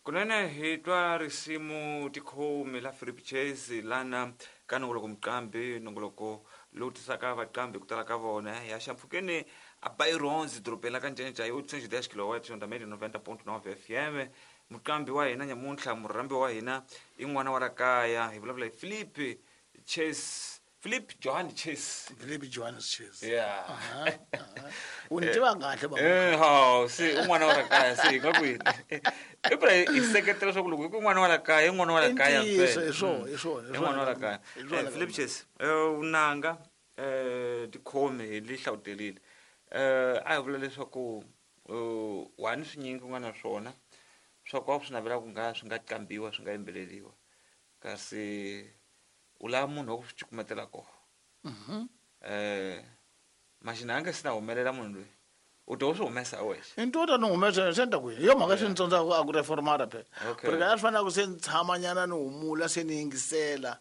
Kunene hi twa risimu tikhomi la Philip Chase lana ka nongoloko muqambi, nongoloko lowu tisaka vaqambi ku tala ka vona ya xampfhukeni a Byrons dorobeni la ka Ncencca hi 810 kilowatt onda média 90.9 FM. Muqambi wa hina nyamuntlha, murhambi wa hina i n'wana wa la kaya, hi vulavula hi Philip Chase, Philip Johan Chase. Philip Johannes Chase. Yeah. Aha, aha. U ni tiva kahle baba. Ha, se u n'wana wa la kaya, se hi nga ku yini? I phela hi seketela leswaku loko hi ku n'wana wa la kaya, i n'wana wa la kaya I ntiyiso, mpela. hi swona, hi swona, hi I n'wana wa la swona. kaya. Hi swona Philip kambe. Chase, vunanga, tikhomi hi li hlawuterile. A hi vula leswaku, wani swinyingi u nga na swona swa ku a swi navela ku nga swi nga qambiwa, swi nga yimbeleriwa, kasi u lava munhu wa ku swi cukumetela kona. Maxina a nge se na humelela munhu loyi, u to u swi humesa wexe. I nto ta ni humesa se ni ta ku yini? Hi yo mhaka swi ni tsondzaka a ku reformara phela. Okay. Porque a swi fanele ku se ni tshama nyana ni humula se ni yingisela.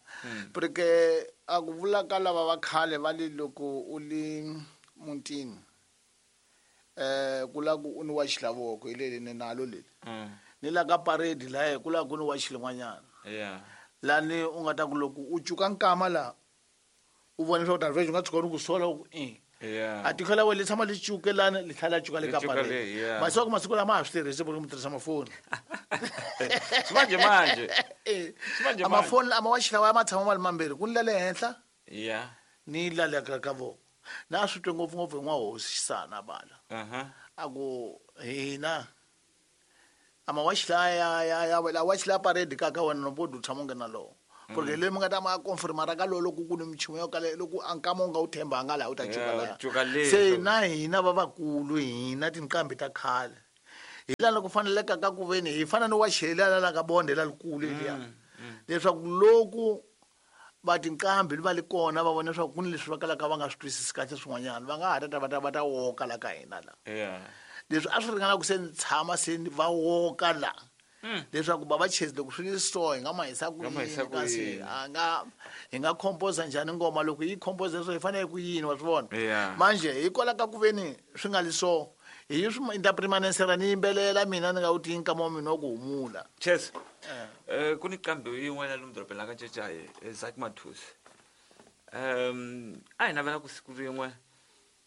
Porque a ku vula ka lava va khale va le loko u li mutini, ku la ku u ni wachi la voko, hi leli ni nalo leli. Ni la ka parade lahaya ku la ku ni wachi lin'wanyana. Yeah. Lani u nga ta ku loko u cuka nkama la, u vona leswaku Darvesh u nga tshuka u ku sola u ku i. Yeah. A tiko la wena li tshama li cuke lani, li tlhela li cuka le Li ka cuka parade. le, yeah. Masiku masiku lama ha swi tirhisi ku mi tirhisa mafoni. Swimanje manje. Eh. Swimanje A manje. mafoni a mawachi lawa ma tshama ma ri mambirhi, ku ni la le henhla, Yeah. ni la le ka voko. Na swi twe ngopfu ngopfu hi n'wahosi Xisana bala. Uh-huh. A ku hina a mawachi la ya ya ya la wachi la parade ka ka wena no bodo tshama u nga na lowo. Porque le mi nga ta ma confirma ra ka lowo loko ku ni michumu yo kala loko a nkama u nga wu thembanga laha u ta cuka Yeah, laha. u cuka le. Se na hina va vakulu hina tinqambi ta khale. Hi laha loko faneleka ka ku veni hi fana ni wa xela la ka bonde la likulu liya. Leswaku loko va tinqambi va li kona va vona leswaku ku ni leswi va kalaka va nga swi twisisi kahle swin'wanyana, va nga ha ta va ta woka la ka hina la. Yeah. Leswi a swi ringana ku se ni tshama se ni va woka la. Leswaku bava Chase loko swi li so hi nga ma hisa ku Nga ma hisa yini, ku kasi yini? a nga hi nga compose njhani ngoma loko yi compose leswo hi fanele ku yini, wa swi vona? Yeah. Manje hikwalaho ka ku veni swi nga li so, hi swi interpremanensera ni yimbelela mina ni nga wu tiyi nkama wa mina wa ku humula. Chase, ku ni nqambi yin'wana lomu dorobeni la ka Ncecayi, Zak Mathusi. A hi navela ku siku rin'we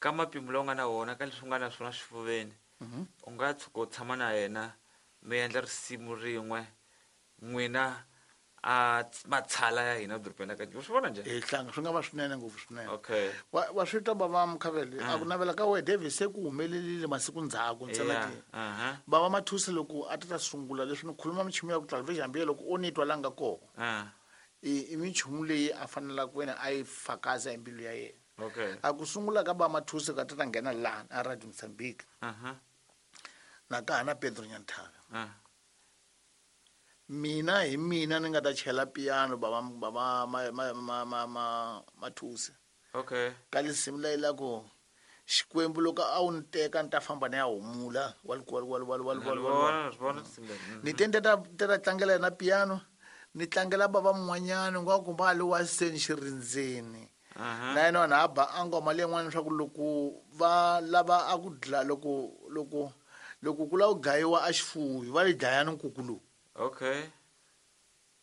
ka mapimo lawa u nga na wona ka leswi u nga na swona xifuveni, u nga tshuka u tshama na yena mi endla risimu rin'we n'wina a matshala ya hina dorobeni la ka Ncecayi. U swi vona njhani? Hi hlanga swi nga va swinene ngopfu swinene. Okay. Wa swi twa bava Mkhavele, a ku navela ka wena David se ku humelerile masiku ndzhaku ntsena Yeah, ke. uh-huh. Bava Mathusi loko a ta sungula leswi ni khuluma michumu ya ku tala David hambi loko o ni twa la nga kona. I michumu leyi a fanelaka ku wena a yi fakaza hi mbilu ya yena. Okay. A ku sungula ka bava Mathusi ka ta nghena laha a Radio Mozambique. Uh-huh. Na ka ha na Pedro Nyanthaka. Mina hi mina ni nga ta chela piano bava bava ma ma ma ma ma Mathusi. Okay. Ka lisimu leyi la ku Xikwembu loko a wu ni teka ni ta famba ni ya humula wal wal wal wal wal wal wal. Vona, vona lisimu leri. Ni te ni ta tlangela yena piano, ni tlangela bava mun'wanyana nga ku va le wa seni xirindzeni. Uh-huh. Na yena vanhu a ba a ngoma leyin'wana leswaku loko va lava a ku dla loko loko loko ku lava ku dlayiwa a xifuwi va yi dlaya ni nkuku lowu. Okay.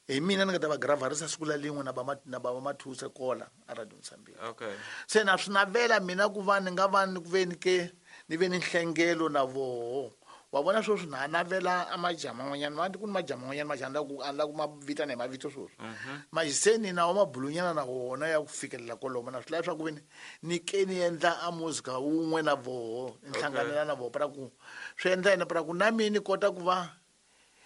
Hi mina ni nga ta va gravarisa siku la lin'we na ba na bava Mathusi kola a Radio Mozambique. Okay. Se na swi navela mina ku va ni nga va ni ku ve ni ke ni ve ni nhlengelo na voho. Wa vona sweswi na navela a majama man'wanyana, ma ku ni majama man'wanyana majama la ku a la ku ma vitana hi mavito sweswi. Majiseni na wa mabulunyana na wona ya ku fikelela kwalomo na swi lava swa ku ve ni ke ni endla a muzika wun'we na voho, ni hlanganela na voho para ku swi endla yini para ku na mina ni kota ku va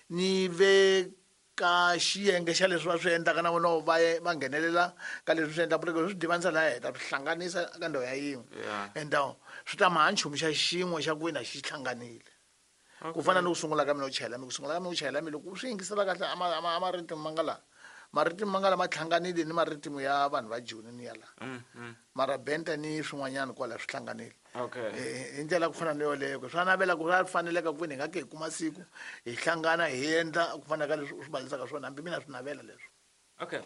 ni ve ka xiyenge xa leswi va swi endlaka na vona va ye va nghenelela ka leswi swi endlaka, porque swi divanisa laha heta swi hlanganisa ka ndhawu ya yin'we. Yeah. And swi ta ma ha nchumu xa xin'we xa ku wena xi hlanganile. Ku fana ni ku sungula ka mina u chayela mi, ku sungula ka mina u chayela mi, loko u swi yingisela kahle a a maritimu ma nga laha. Maritimu ma nga laha ma hlanganile ni maritimu ya vanhu va Joni ni ya laha. Mara benta ni swin'wanyana kwala swi hlanganile. Okay. Hi ndlela ku fana ni yoleyo, swa navela ku swa faneleka ku veni hi nga ke hi kuma siku hi hlangana hi endla ku fana ka leswi u swi balisaka swona, hambi mina swi navela leswo. Okay.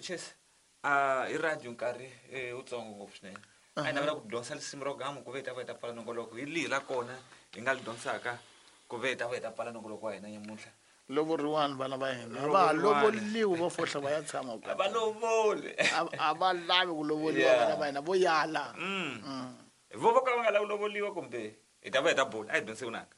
Chase, hi radio nkarhi wutsongo ngopfu swinene. A hi navela ku dyondzisa risimu ro gamu ku ve hi ta va hi ta pfala nongoloko. Hi lihi la kona hi nga li dyondzisaka? Ku ve hi ta va hi ta pfala nongoloko wa hina nyamuntlha. Lovoriwani vana va hina, a va ha lovoliwi, vo fohla va ya tshama A va lovoli. A va lavi ku lovoliwa. Vana va hina vo yala. Vo vo ka va nga lavi lovoliwa, kumbe hi ta va hi ta bula, a hi dyondzise vunanga.